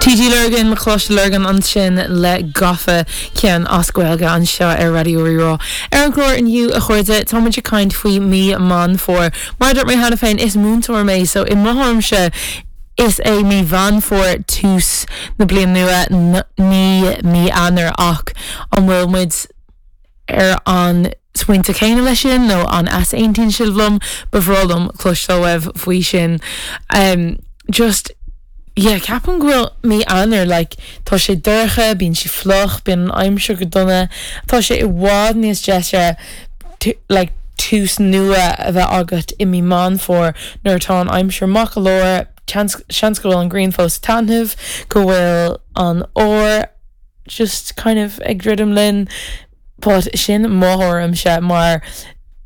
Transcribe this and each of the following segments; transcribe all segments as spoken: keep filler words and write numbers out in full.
T G Lurgan, Coláiste Lurgan ansin le "Gafa", ceann as Gaeilge anseo ar Raidió Rí-Rá. Ar an gclár inniu, a chairde, tá muid ag caint faoi mí Meán Fómhair. Mar dúirt mé cheana féin, is múinteoir mé, so i mo thuairimse is é mí Mheán Fómhair tús na bliana nua, ní mí Eanáir, ach an bhfuil muid ar an smaointe céanna leis sin nó an easaontaíonn sibh liom? Ba bhreá liom cloisteáil uaibh faoi sin. Um, just yeah, ceapaim go bhfuil mí Eanáir, like, tá sé dorcha, bíonn sé fliuch, bíonn an aimsir go dona, tá sé i bhfad níos deise, like, tús nua a bheith agat i mí Meán Fómhair nuair atá an aimsir maith go leor, seans go bhfuil an ghrian fós taitneamh, go bhfuil an fhómhar just kind of ag druidim linn, but sin mo thuairimse mar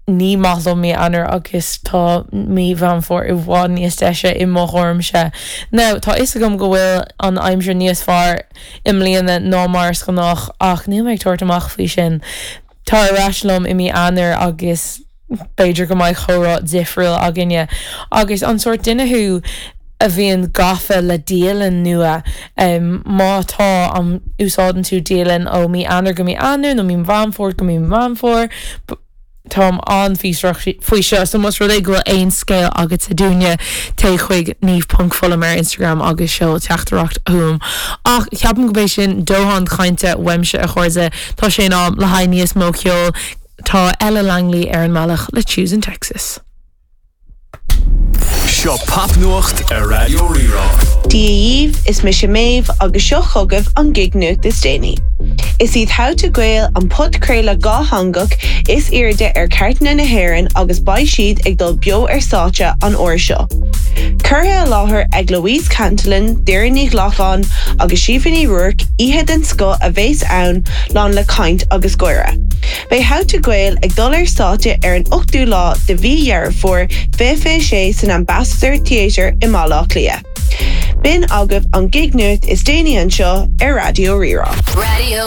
ní maith liom mí Eanáir agus tá mí Mheán Fómhair i bhfad níos deise i mo thuairimse. Now, tá fhios agam go bhfuil an aimsir níos fearr i mbliana ná mar is gnách, ach níl mé ag tabhairt amach faoi sin. Tar ar ais liom i mí Eanáir agus b'fhéidir go mbeidh comhrá difriúil againne. Agus an sórt duine thú a bhíonn gafa le dialann nua? um, má tá, an úsáideann tú dialann ó mí Eanáir go mí Eanáir nó mí Mheán Fómhair go mí Mheán Fómhair? Táim an-fhiosrach faoi seo, so más rud é go bhfuil aon scéal agat dúinne, téigh chuig niamh ponc fullam ar Instagram agus seol teachtaireacht chugam. Ach ceapaim go b'é sin dóthain cainte uaimse, a chairde. Tá sé in am le haghaidh níos mó ceoil. Tá Ella Langley ar an mbealach le "Choosing Texas". Seo popnuacht ar Raidió Rí-Rá. Dia dhaoibh, is mise Méabh agus seo chugaibh an gig nuacht is déanaí. Is iad How to Gael an podchraoladh dátheangach is airde ar chairteanna na hÉireann agus beidh siad ag dul beo ar stáitse an uair seo. Curtha i láthair ag Louise Cantillon, Doireann Ní Ghlacáin agus Síomha Ní Ruairc, oíche den scoth a bheas ann, lán le caint agus gáire. Beidh How to Gael ag dul ar stáitse ar an ochtú lá de mhí Dheireadh Fómhair fiche sé san Ambassador Theatre i mBaile Átha Cliath. B'in agaibh an gig nuacht is déanaí anseo ar Raidió Rí-Rá. Radio.